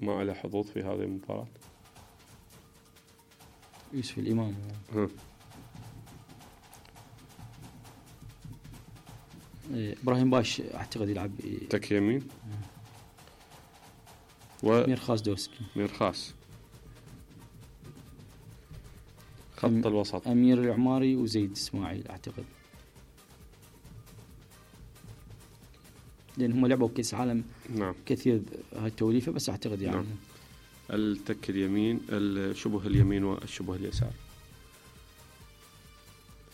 ما له حظوظ في هذه المباراة؟ يوسف الإمام. إبراهيم بايش أعتقد يلعب تك يمين. ميرخاص دوسكي. ميرخاص. خط الوسط أمير العماري وزيد إسماعيل أعتقد، لأن هم لعبوا كأس عالم نعم كثير هاي التوليفة، بس أعتقد يعني نعم. التك اليمين، الشبه اليمين والشبه اليسار.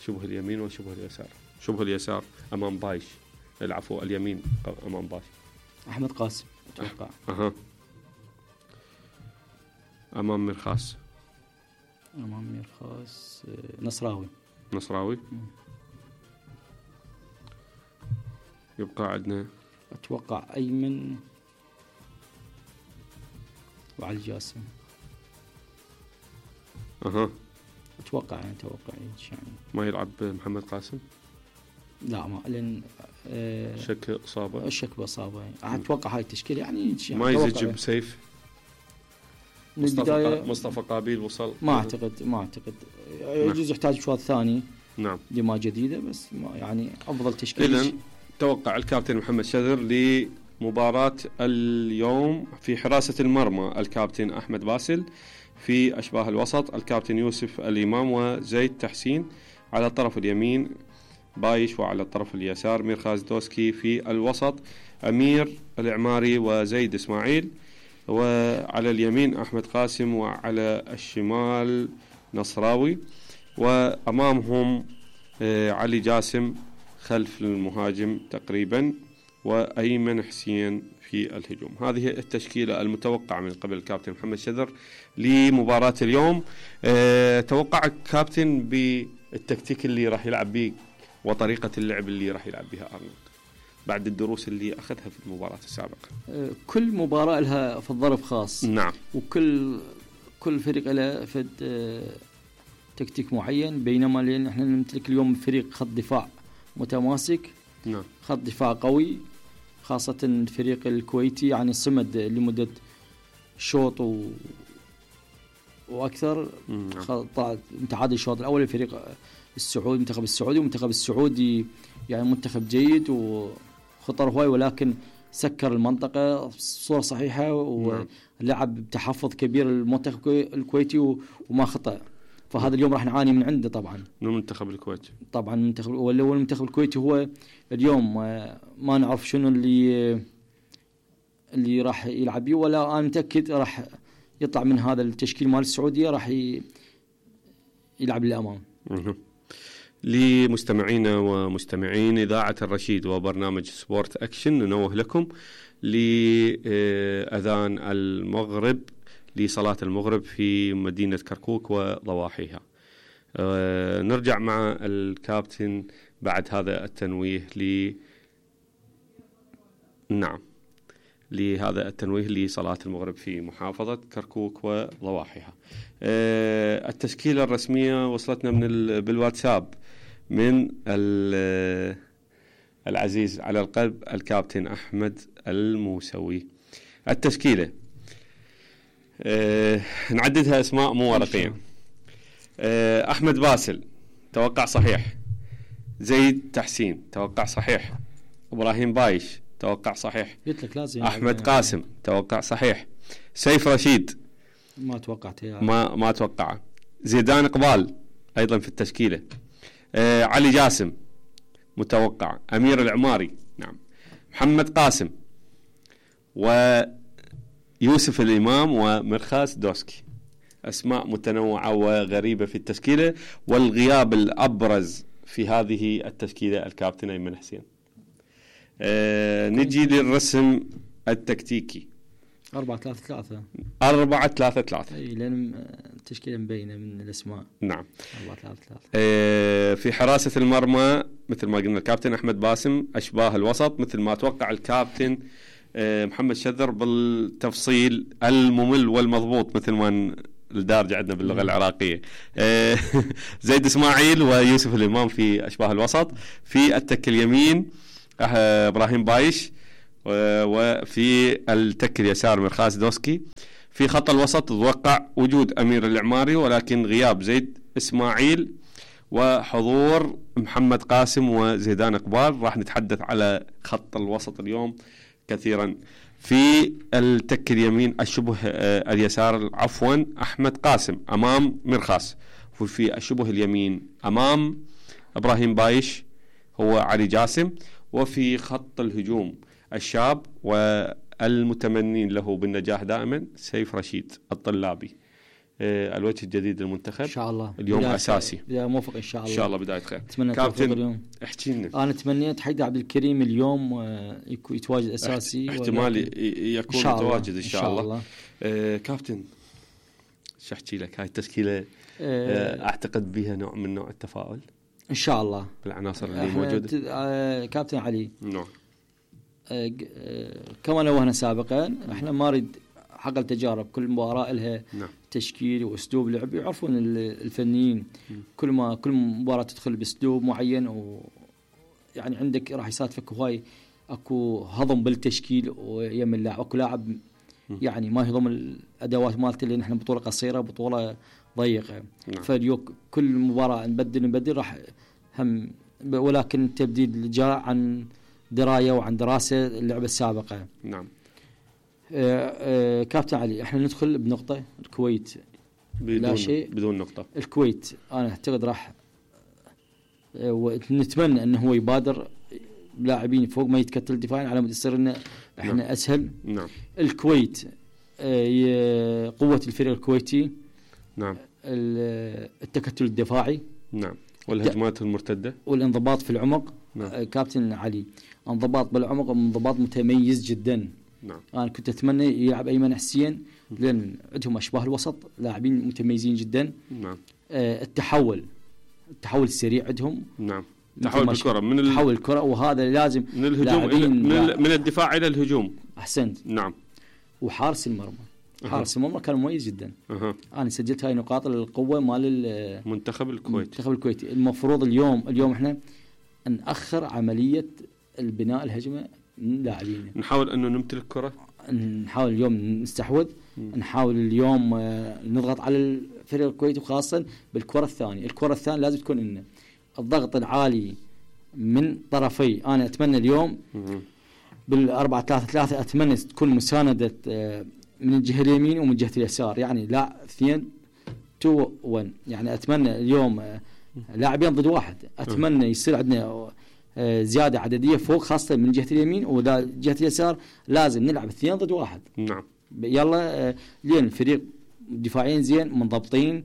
شبه اليمين وشبه اليسار. شبه اليسار أمام بايش، العفو اليمين أمام بايش. أحمد قاسم أتوقع. أمام ميرخاص. أمام ميرخاص نصراوي. نصراوي. يبقى عندنا أتوقع أيمن وعلي جاسم. أتوقع يعني ما يلعب محمد قاسم؟ لا ما، لأن شك إصابة. الشك بإصابة يعني. أتوقع هاي التشكيلة يعني ما يزج بسيف. مصطفى قابيل وصل. ما أعتقد يجوز يحتاج شوط ثاني. نعم. دماء جديدة، بس ما يعني أفضل تشكيلة. إذن توقع الكابتن محمد شذر لمباراة اليوم: في حراسة المرمى الكابتن أحمد باسل، في أشباه الوسط الكابتن يوسف الإمام وزيد تحسين، على الطرف اليمين بايش، وعلى الطرف اليسار ميرخاص دوسكي، في الوسط أمير العماري وزيد إسماعيل، وعلى اليمين أحمد قاسم، وعلى الشمال نصراوي، وأمامهم علي جاسم خلف المهاجم تقريبا، وأيمن حسين في الهجوم. هذه التشكيلة المتوقعة من قبل الكابتن محمد شذر لمباراة اليوم. توقع الكابتن بالتكتيك اللي راح يلعب به وطريقة اللعب اللي راح يلعب بها أرنولد بعد الدروس اللي أخذها في المباراة السابقة. كل مباراة لها في الظرف خاص. نعم. وكل فريق له في تكتيك معين، بينما لأن احنا نمتلك اليوم فريق خط دفاع متماسك. نعم. خط دفاع قوي، خاصة الفريق الكويتي يعني صمد لمدة شوط وأكثر. متعادل الشوط الأول. الفريق السعودي، المنتخب السعودي، والمنتخب السعودي يعني منتخب جيد وخطر هواي، ولكن سكر المنطقة بصورة صحيحة ولعب بتحفظ كبير المنتخب الكويتي وما خطأ. فهذا اليوم راح نعاني من عنده طبعا من المنتخب الكويتي. طبعا المنتخب الكويتي هو اليوم ما نعرف شنو اللي راح يلعب بيه، ولا أنا متأكد راح يطلع من هذا التشكيل مال السعودية راح يلعب للأمام. لمستمعينا ومستمعين إذاعة الرشيد وبرنامج سبورت أكشن، ننوه لكم لأذان المغرب، لصلاة المغرب في مدينة كركوك وضواحيها. نرجع مع الكابتن بعد هذا التنويه لهذا التنويه لصلاة المغرب في محافظة كركوك وضواحيها. التشكيلة الرسمية وصلتنا بالواتساب من العزيز على القلب الكابتن أحمد الموسوي. التشكيلة نعددها اسماء مو ورقية. أحمد باسل توقع صحيح. زيد تحسين توقع صحيح. إبراهيم بايش توقع صحيح. أحمد قاسم توقع صحيح. سيف رشيد ما توقعت ما توقع. زيدان إقبال أيضا في التشكيلة. علي جاسم متوقع. أمير العماري نعم. محمد قاسم ويوسف الإمام وميرخاص دوسكي. أسماء متنوعة وغريبة في التشكيلة، والغياب الأبرز في هذه التشكيلة الكابتن أيمن حسين. نجي للرسم التكتيكي 4-3-3. 4-3-3 لأن التشكيلة مبينة من الأسماء. نعم. 4-3-3. في حراسة المرمى مثل ما قلنا الكابتن أحمد باسم. أشباه الوسط مثل ما توقع الكابتن محمد شذر بالتفصيل الممل والمضبوط مثل ما الدارج عندنا باللغة العراقية. زيد إسماعيل ويوسف الإمام في أشباه الوسط. في التك اليمين إبراهيم بايش وفي التك اليسار مرخاس دوسكي. في خط الوسط توقع وجود أمير العماري ولكن غياب زيد إسماعيل وحضور محمد قاسم وزيدان إقبال. راح نتحدث على خط الوسط اليوم كثيرا. في التك اليمين الشبه اليسار عفوا أحمد قاسم أمام مرخاس، وفي الشبه اليمين أمام إبراهيم بايش هو علي جاسم. وفي خط الهجوم الشاب والمتمنين له بالنجاح دائما سيف رشيد الطلابي، الوجه الجديد للمنتخب ان شاء الله اليوم اساسي. بداية موفق ان شاء الله، ان شاء الله بدايه خير. كابتن اليوم احكي لنا. انا تمنيت حيدر عبد الكريم اليوم يتواجد اساسي، احتمال يكون متواجد ان شاء الله. كابتن شو احكي لك، هاي التشكيله اعتقد بها نوع من نوع التفاؤل ان شاء الله بالعناصر اللي موجوده. كابتن علي نعم. كما نوهنا سابقا احنا ما نريد حق التجارب، كل مباراه لها نعم. تشكيل واسلوب لعب، يعرفون الفنيين كل مباراه تدخل باسلوب معين، ويعني عندك راح يصادفك هواي اكو هضم بالتشكيل ويم اللاعب، اكو لاعب يعني ما يهضم الادوات مالته لان احنا بطوله قصيره بطوله ضيقه. نعم. فاليوم كل مباراه نبدل راح هم، ولكن التبديل جاء عن درايه وعن دراسه اللعبه السابقه. نعم. كابتن علي احنا ندخل بنقطه الكويت لا شيء بدون نقطه. الكويت انا اعتقد راح ونتمنى انه هو يبادر لاعبين فوق ما يتكتل دفاعيا على مود يصير لنا احنا نعم. اسهل. نعم. الكويت قوه الفريق الكويتي. نعم. التكتل الدفاعي. نعم. والهجمات المرتده والانضباط في العمق. نعم. كابتن علي انضباط بالعمق وانضباط متميز جدا. نعم. انا كنت اتمنى يلعب ايمن حسين لان عندهم اشباه الوسط لاعبين متميزين جدا. نعم. التحول السريع عندهم. نعم. تحول الكره تحول الكره، وهذا لازم من الهجوم من الدفاع الى الهجوم. احسنت. نعم. وحارس المرمى حارس المرمى كان مميز جدا. انا سجلت هاي نقاط القوه مال المنتخب الكويتي. المفروض اليوم احنا نأخر عمليه البناء الهجمه من لاعبين، نحاول انه نمتلك كره، نحاول اليوم نستحوذ، نحاول اليوم نضغط على الفريق الكويتي، وخاصه بالكره الثانيه. الكره الثانيه لازم تكون لنا الضغط العالي من طرفي. انا اتمنى اليوم بال4-3-3 اتمنى تكون مسانده من الجهه اليمين ومن جهه اليسار، يعني لا 2-2-1. يعني اتمنى اليوم لاعبين ضد واحد، اتمنى يصير عندنا زياده عدديه فوق خاصه من جهه اليمين، وذا جهه اليسار لازم نلعب 2 ضد 1. نعم. يلا لين الفريق دفاعيا زين منضبطين،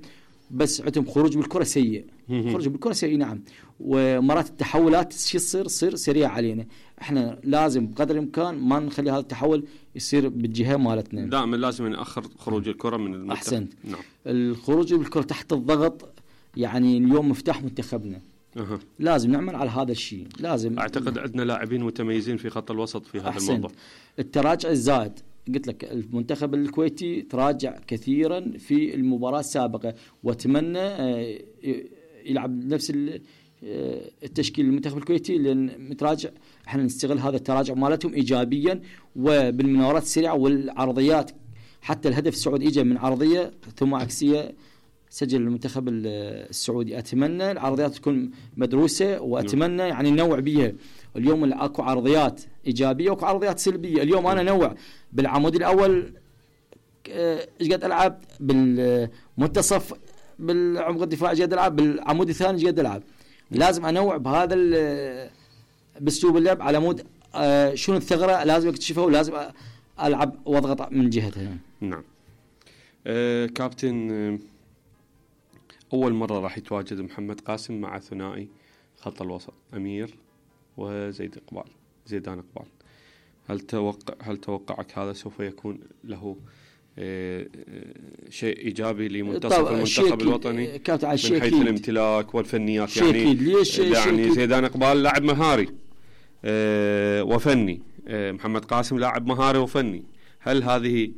بس عندهم خروج بالكره سيء. خروج بالكره سيء. نعم. ومرات التحولات شو تصير سريعه علينا، احنا لازم بقدر الامكان ما نخلي هذا التحول يصير بالجهه مالتنا، دائما لازم ناخر خروج الكره من المنتخب. احسنت. نعم. الخروج بالكره تحت الضغط يعني اليوم مفتاح منتخبنا. لازم نعمل على هذا الشيء. لازم اعتقد عندنا لاعبين متميزين في خط الوسط في هذا الموضوع. التراجع الزائد، قلت لك المنتخب الكويتي تراجع كثيرا في المباراة السابقة، واتمنى يلعب نفس التشكيل المنتخب الكويتي لان متراجع. احنا نستغل هذا التراجع مالتهم ايجابيا، وبالمناورات السريعه والعرضيات. حتى الهدف السعودي اجى من عرضيه ثم عكسيه سجل المنتخب السعودي. اتمنى العرضيات تكون مدروسه، واتمنى يعني ننوع بيها. اليوم اكو عرضيات ايجابيه واكو عرضيات سلبيه. اليوم انا نوع بالعمود الاول ايش قد العب، بالمنتصف بالعمق الدفاعي ايش قد العب، بالعمود الثاني ايش قد العب. لازم انوع بهذا باسلوب اللعب على مود شنو الثغره لازم اكتشفها، ولازم العب واضغط من جهتها. نعم. كابتن، اول مره راح يتواجد محمد قاسم مع ثنائي خط الوسط امير زيدان إقبال. هل توقعك هذا سوف يكون له شيء إيجابي لمنتصف المنتخب الوطني من حيث الامتلاك والفنيات؟ يعني زيدان إقبال لاعب مهاري وفني، محمد قاسم لاعب مهاري وفني. هل هذه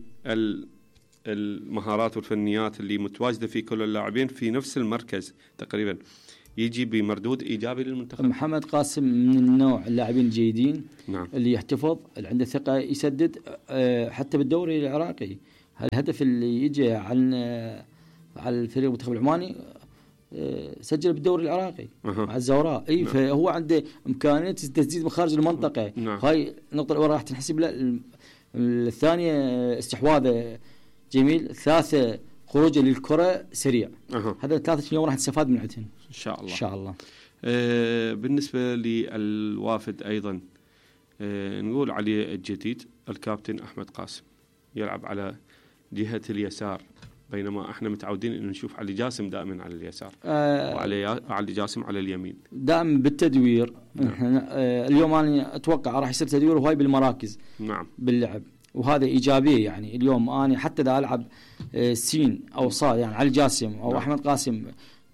المهارات والفنيات اللي متواجدة في كل اللاعبين في نفس المركز تقريبا يجي بمردود ايجابي للمنتخب؟ محمد قاسم من النوع اللاعبين الجيدين، نعم. اللي يحتفظ، اللي عنده ثقة، يسدد. حتى بالدوري العراقي الهدف اللي يجي عن الفريق المنتخب العماني سجل بالدوري العراقي مع الزوراء. اي نعم. فهو عنده امكانيه تسديد من خارج المنطقه. نعم. هاي النقطه الاولى راح تنحسب له. الثانيه استحواذه جميل. الثالثه خروجه للكره سريع. هذا الثلاثه اليوم راح نستفاد من عندهم ان شاء الله. ان شاء الله. بالنسبه للوافد ايضا نقول عليه الجديد الكابتن احمد قاسم يلعب على جهه اليسار، بينما احنا متعودين انه نشوف علي جاسم دائما على اليسار وعلي جاسم على اليمين دائما بالتدوير. نعم. اليوم انا اتوقع راح يصير تدوير وهاي بالمراكز. نعم. باللعب، وهذا ايجابيه. يعني اليوم انا حتى اذا العب سين او صاد، يعني علي جاسم او نعم. احمد قاسم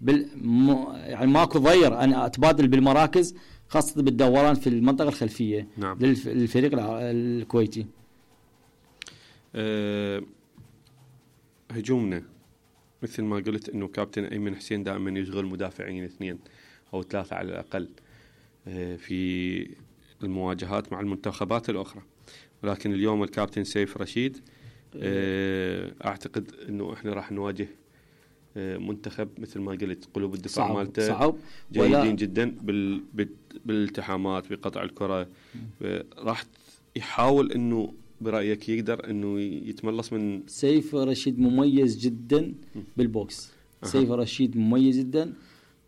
يعني ماكو ضير انا اتبادل بالمراكز، خاصه بالدوران في المنطقه الخلفيه. نعم. للفريق الكويتي. هجومنا مثل ما قلت انه كابتن ايمن حسين دائما يشغل مدافعين 2 أو 3 على الاقل في المواجهات مع المنتخبات الاخرى، ولكن اليوم الكابتن سيف رشيد اعتقد انه احنا راح نواجه منتخب مثل ما قلت قلوب الدفاع مالته صعب جيدين جدا بالالتحامات بقطع الكره. راح يحاول انه برأيك يقدر انه يتملص من سيف رشيد مميز جدا بالبوكس. سيف رشيد مميز جدا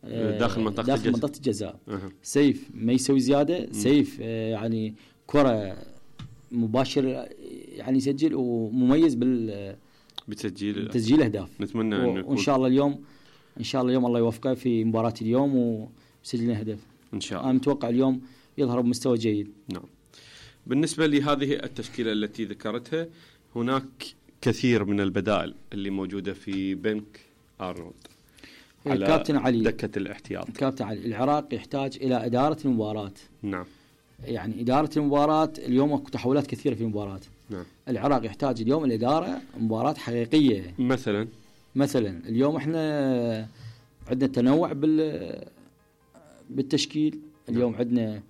داخل منطقة الجزاء. سيف ما يسوي زيادة. سيف يعني كرة مباشر يعني يسجل، ومميز بتسجيل اهداف. نتمنى وان شاء الله اليوم الله يوفقه في مباراة اليوم ويسجل لنا هدف ان شاء الله. انا متوقع اليوم يظهر بمستوى جيد. نعم. بالنسبة لهذه التشكيلة التي ذكرتها، هناك كثير من البدائل اللي موجودة في بنك أرنولد على كابتن علي دكة الاحتياط. كابتن علي، العراق يحتاج إلى إدارة المباراة. نعم. يعني إدارة المباراة اليوم أكو تحولات كثيرة في المباراة. نعم. العراق يحتاج اليوم الإدارة مباراة حقيقية. مثلا اليوم احنا عندنا تنوع بالتشكيل. اليوم عندنا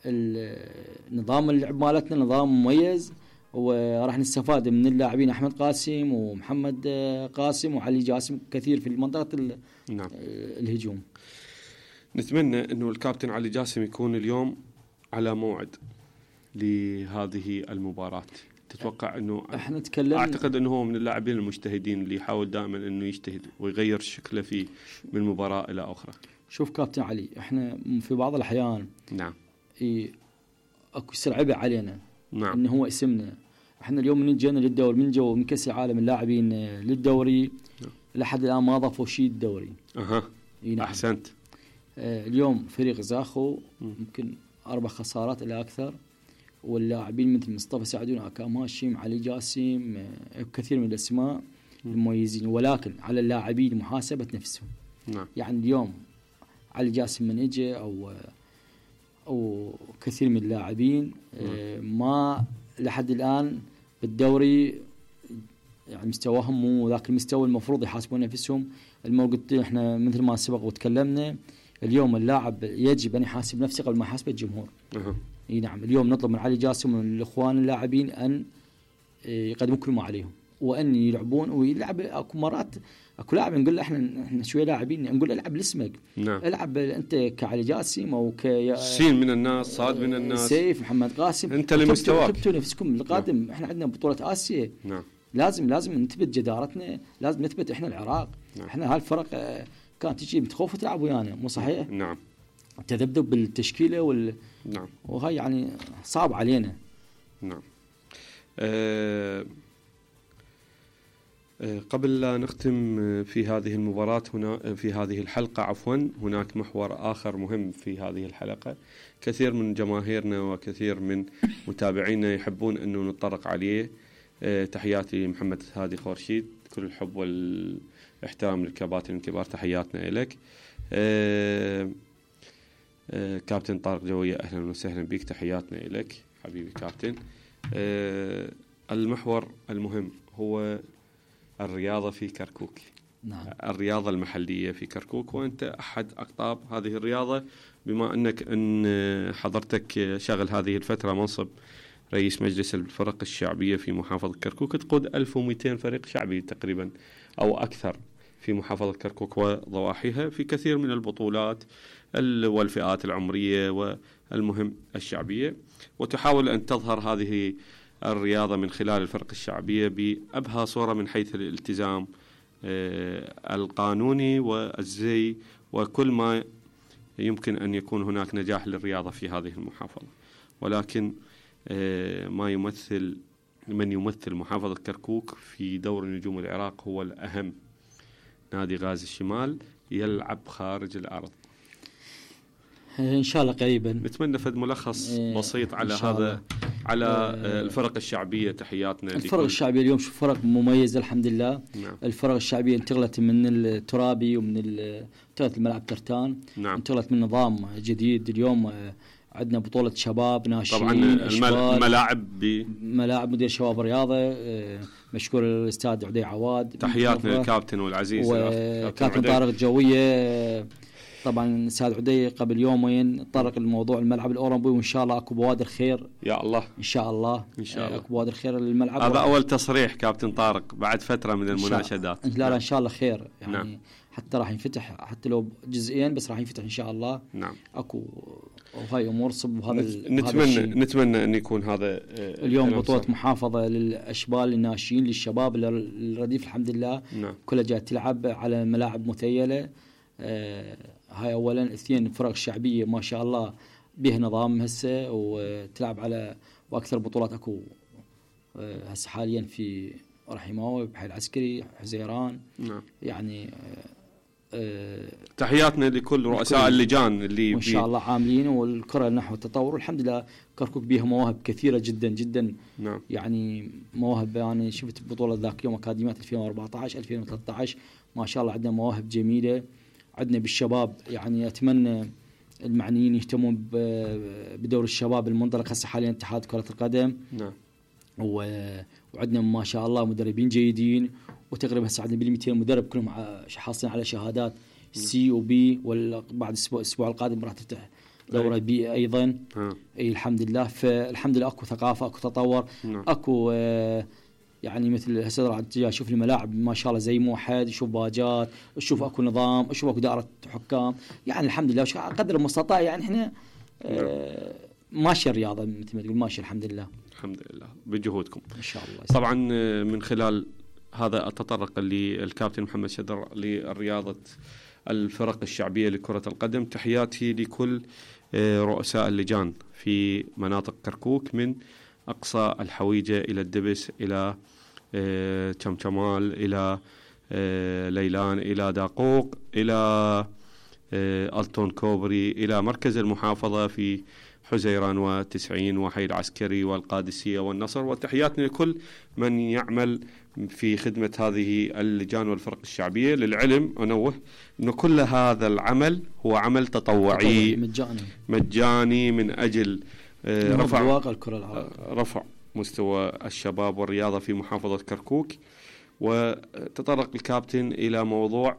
النظام اللعب مالتنا نظام مميز، وراح نستفاد من اللاعبين أحمد قاسم ومحمد قاسم وعلي جاسم كثير في منطقة نعم. الهجوم. نتمنى أنه الكابتن علي جاسم يكون اليوم على موعد لهذه المباراة. تتوقع أنه احنا تكلمنا، أعتقد أنه هو من اللاعبين المجتهدين اللي يحاول دائما أنه يجتهد ويغير شكله فيه من مباراة إلى أخرى. شوف كابتن علي، احنا في بعض الأحيان نعم اكو سرعبة علينا. نعم. انه هو اسمنا. احنا اليوم من جينا للدوري، من جو من كاس العالم اللاعبين للدوري. نعم. لحد الان ما ضافوا شيء الدوري. نعم. احسنت. اليوم فريق زاخو يمكن 4 خسارات الى اكثر، واللاعبين مثل مصطفى سعدون، اكام هاشم، علي جاسم، كثير من الاسماء المميزين، ولكن على اللاعبين محاسبة نفسهم. نعم. يعني اليوم علي جاسم من اجى او كثير من اللاعبين ما لحد الان بالدوري يعني مستواهم مو ذاك المستوى المفروض يحاسبون نفسهم. قلت احنا مثل ما سبق وتكلمنا، اليوم اللاعب يجب ان يحاسب نفسه قبل ما يحاسب الجمهور. اي نعم. اليوم نطلب من علي جاسم ومن الاخوان اللاعبين ان يقدموا كل ما عليهم، وان يلعبون ويلعب. اكو مرات اكو لاعب نقول له احنا شويه لاعبين نقول له العب لاسمك. نعم. العب انت كعلي جاسم او سين من الناس، صاد من الناس، سيف، محمد قاسم، انت لمستواك كتبتوا نفسكم القادم. نعم. احنا عندنا بطوله اسيا. نعم. لازم نثبت جدارتنا، لازم نثبت احنا العراق. نعم. احنا هالفرق كانت تجي متخوفه تلعب ويانا، مو صحيح؟ نعم. تذبذب بالتشكيله نعم. وهي يعني صعب علينا. نعم. قبل لا نختم في هذه المباراة في هذه الحلقة هناك محور آخر مهم في هذه الحلقة. كثير من جماهيرنا وكثير من متابعينا يحبون أنه نتطرق عليه. تحياتي محمد هادي خورشيد، كل الحب والاحترام للكباتن الكبار، تحياتنا إليك. كابتن طارق جوية، أهلا وسهلا بك، تحياتنا إليك حبيبي كابتن. المحور المهم هو الرياضة في كركوك. نعم. الرياضة المحلية في كركوك، وأنت أحد أقطاب هذه الرياضة، بما أنك أن حضرتك شغل هذه الفترة منصب رئيس مجلس الفرق الشعبية في محافظة كركوك، تقود 1200 فريق شعبي تقريبا أو أكثر في محافظة كركوك وضواحيها في كثير من البطولات والفئات العمرية والمهم الشعبية، وتحاول أن تظهر هذه الرياضة من خلال الفرق الشعبية بأبهى صورة من حيث الالتزام القانوني والزي وكل ما يمكن أن يكون هناك نجاح للرياضة في هذه المحافظة. ولكن من يمثل محافظة كركوك في دور نجوم العراق هو الأهم، نادي غازي الشمال يلعب خارج الأرض. إن شاء الله قريبا نتمنى فد ملخص بسيط على هذا، على الفرق الشعبية. تحياتنا. الفرق الشعبية اليوم شوف فرق مميزة الحمد لله. نعم. الفرق الشعبية انتقلت من الترابي ومن انتقلت الملعب ترتان. نعم. انتقلت من نظام جديد. اليوم عندنا بطولة شباب ناشئين. طبعا ملاعب مدير شباب الرياضة مشكور الأستاذ عدي عواد. تحياتنا للكابتن والعزيز وكابتن طارق الجوية. طبعا الأستاذ عدي قبل يومين طرق الموضوع الملعب الأولمبي، وإن شاء الله أكو بوادر خير. يا الله. إن شاء الله. أكو بوادر خير للملعب. هذا أول تصريح كابتن طارق بعد فترة من المناشدات. لا إن شاء الله خير يعني. نعم. حتى راح ينفتح حتى لو جزئيا بس راح ينفتح إن شاء الله. نعم. أكو وهاي أمور صب هذا. نتمنى أن يكون هذا اليوم بطولة محافظة للأشبال الناشئين للشباب الرديف الحمد لله. نعم. كلها جاء تلعب على ملاعب مثيلة. هاي أولا. اثنين الفرق الشعبية ما شاء الله به نظام هسه وتلعب على وأكثر بطولات أكو هسه حاليا في رحيماوي بحي العسكري حزيران. نعم. يعني تحياتنا لكل رؤساء اللجان اللي إن شاء الله عاملين والكرة نحو التطور. والحمد لله كركوك بيها مواهب كثيرة جدا جدا. نعم. يعني مواهب يعني شفت بطولة ذاك يوم أكاديميات 2014 2013 ما شاء الله عندنا مواهب جميلة. عندنا بالشباب يعني أتمنى المعنيين يهتمون بدور الشباب المنطلق هسه حاليا اتحاد كرة القدم. نعم. وعندنا ما شاء الله مدربين جيدين، وتقريبا هسه عندنا بال200 مدرب كلهم حاصلين على شهادات سي وبي، وبعد الأسبوع القادم راح تفتح دورة بي أيضا. أي الحمد لله. فالحمد لله أكو ثقافة أكو تطور. نعم. أكو يعني مثل هسه راح اشوف الملاعب ما شاء الله زي موحد، اشوف باجات، اشوف اكو نظام، اشوف اكو دائره حكام. يعني الحمد لله قدر المستطاع يعني احنا ماشي الرياضه مثل ما تقول ماشي الحمد لله. الحمد لله بجهودكم ان شاء الله. طبعا من خلال هذا التطرق للكابتن محمد شدر للرياضه الفرق الشعبيه لكره القدم، تحياتي لكل رؤساء اللجان في مناطق كركوك من أقصى الحويجة إلى الدبس إلى شمشمال إلى ليلان إلى داقوق إلى ألتون كوبري إلى مركز المحافظة في حزيران و90 وحي العسكري والقادسية والنصر. وتحياتنا لكل من يعمل في خدمة هذه اللجان والفرق الشعبية. للعلم أنوه أن كل هذا العمل هو عمل تطوعي مجاني من أجل رفع مستوى الشباب والرياضة في محافظة كركوك. وتطرق الكابتن إلى موضوع